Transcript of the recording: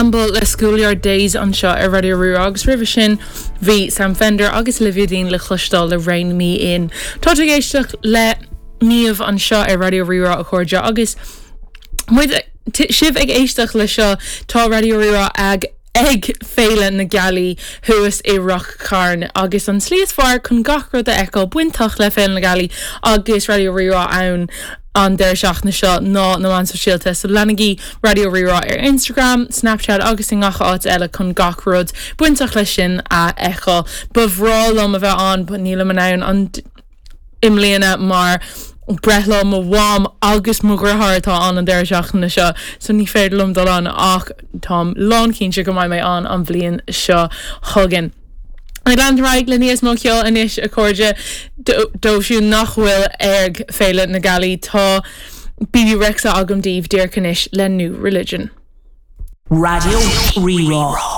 Campbell le Schoolyard Days anseo ar Raidió Rí-Rá agus roimhe sin bhí Sam Fender agus Olivia Dean le cloisteáil le Rein Me In. Tá tú ag éisteacht le Niamh anseo ar Raidió Rí-Rá a chairde agus muid sibh ag éisteacht le seo tá Raidió Rí-Rá ag ag Féile na Gealaí thuas i Ráth Chairn agus an tslí is fearr chun gach rud a fheiceáil bainteach le Féile na Gealaí agus Raidió Rí-Rá ann an deireadh seachtaine seo ná na meáin sóisialta so leanaigí Raidió Rí-Rá ar Instagram, Snapchat agus i ngach áit eile chun gach rud bainteach leis sin a fheiceáil. Ba bhreá liom a bheith ann but nílim in ann an i mbliana mar breithlá mo mham agus mo dheartháir atá ann an deireadh seachtaine seo so ní féidir liom dul ann ach táim lánchinnte go mbeidh mé ann an bhliain seo chugainn. Ag leanúint ar aghaidh le níos mó ceoil anois a chairde dóibh siúd nach bhfuil ag Féile na Gealaí tá Bebe Rexha agam daoibh díreach anois le New Religion. Raidió Rí-Rá.